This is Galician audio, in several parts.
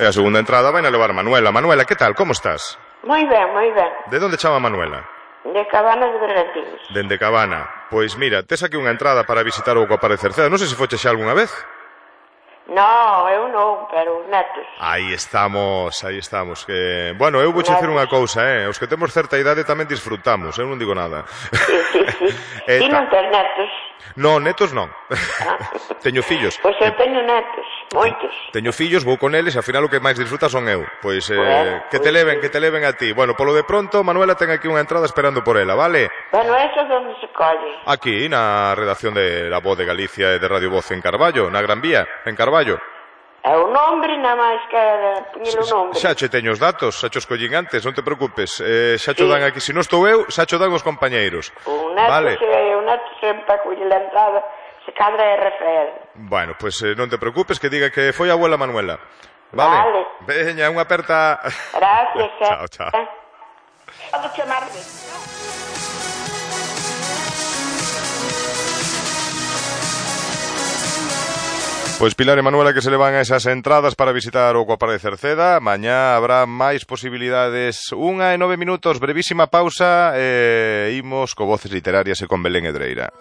E a segunda entrada vai na levar Manuela. Manuela, que tal? Como estás? Moi ben, moi ben. De onde chama Manuela? De Cabana de Bergantiños. Dende Cabana. Pois mira, tes aquí unha entrada para visitar o Coapar de Cerceda. Non sei se foches xa algunha vez. No, eu non, pero os netos. Aí estamos. Que... Bueno, eu vou dicir unha cousa, Os que temos certa idade tamén disfrutamos, eu non digo nada. Sí. Ti non tes netos? Non, netos non. Teño fillos. Pois eu teño netos, moitos. Teño fillos, vou con eles, e ao final o que máis disfruta son eu. Pois que te leven a ti. Bueno, polo de pronto, Manuela ten aquí unha entrada esperando por ela, vale? Bueno, eso onde se colle? Aquí, na redacción de La Voz de Galicia e de Radio Voz en Carballo, na Gran Vía, en Carballo. É o nombre, nada máis que poñer o nombre. Xa che teño os datos, xa che os collín antes, non te preocupes. Xa cho dan aquí, se non estou eu, xa cho dan os compañeiros. O neto sempre colle a entrada, se cadra é Rafael. Bueno, pois non te preocupes, que diga que foi a abuela Manuela. Vale. Veña, unha aperta. Gracias. Chao. Podo chamarme? Pois Pilar e Manuela que se levan a esas entradas para visitar o Coapar de Cerceda. Mañá habrá máis posibilidades. 1:09, brevísima pausa e imos co Voces Literarias e con Belén Edreira.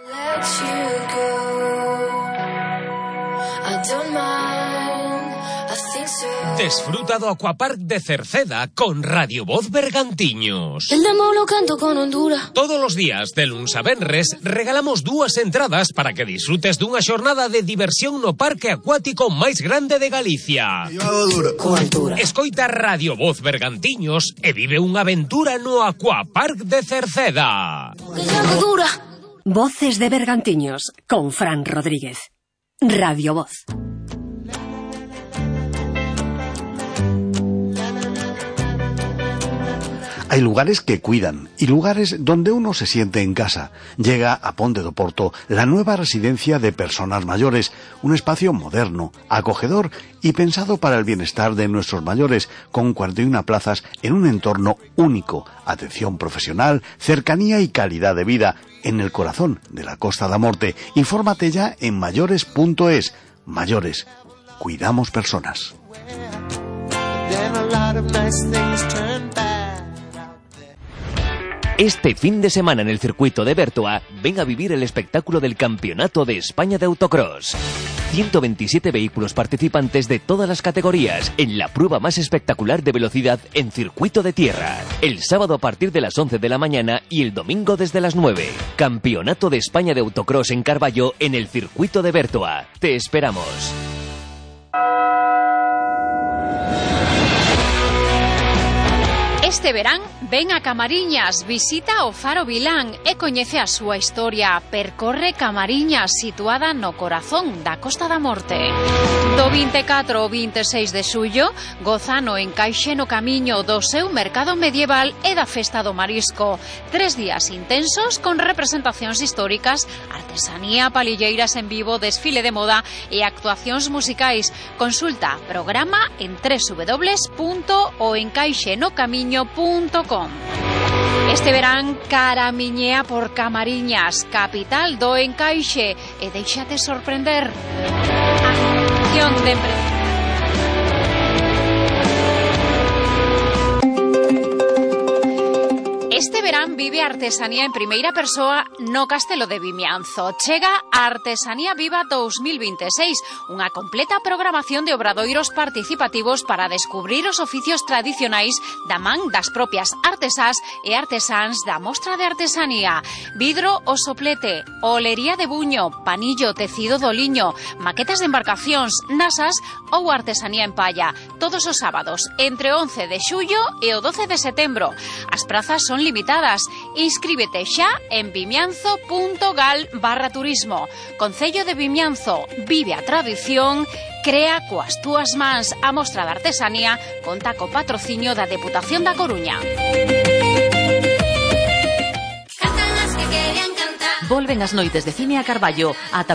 Desfruta do Aquapark de Cerceda con Radio Voz Bergantiños. El demo lo canto con Honduras. Todos os días, de luns a venres, regalamos 2 entradas para que disfrutes dunha xornada de diversión no parque acuático máis grande de Galicia. Con altura. Escoita Radio Voz Bergantiños e vive unha aventura no Aquapark de Cerceda. Que llamo dura. Voces de Bergantiños con Fran Rodríguez. Radio Voz. Hay lugares que cuidan y lugares donde uno se siente en casa. Llega a Ponte do Porto la nueva residencia de personas mayores, un espacio moderno, acogedor y pensado para el bienestar de nuestros mayores, con 41 plazas en un entorno único, atención profesional, cercanía y calidad de vida, en el corazón de la Costa da Morte. Infórmate ya en mayores.es. Mayores, cuidamos personas. Este fin de semana en el circuito de Bertoa, ven a vivir el espectáculo del Campeonato de España de Autocross. 127 vehículos participantes de todas las categorías en la prueba más espectacular de velocidad en circuito de tierra. El sábado a partir de las 11 de la mañana y el domingo desde las 9. Campeonato de España de Autocross en Carballo en el circuito de Bertoa. Te esperamos. Este verán, ven a Camariñas, visita o Faro Vilán e coñece a súa historia. Percorre Camariñas, situada no corazón da Costa da Morte. Do 24 ao 26 de xullo, goza no encaixe no camiño do seu mercado medieval e da Festa do Marisco. 3 días intensos con representacións históricas, artesanía, palilleiras en vivo, desfile de moda e actuacións musicais. Consulta programa en www.oencaixenocamiño.com. Este verán caramiñea por Camariñas, capital do encaixe, e déixate sorprender. Acción de Este verán vive a artesanía en primeira persoa no Castelo de Vimianzo. Chega a Artesanía Viva 2026, unha completa programación de obradoiros participativos para descubrir os oficios tradicionais da man das propias artesás e artesáns da mostra de artesanía. Vidro o soplete, olería de buño, panillo, tecido do liño, maquetas de embarcacións, nasas ou artesanía en palla. Todos os sábados, entre 11 de xullo e o 12 de setembro. As prazas son limitadas. Inscríbete xa en vimianzo.gal/turismo. Concello de Vimianzo, vive a tradición, crea coas túas mans. A mostra de artesanía conta co patrocinio da Deputación da Coruña. Volven as noites de cine a Carballo. Ata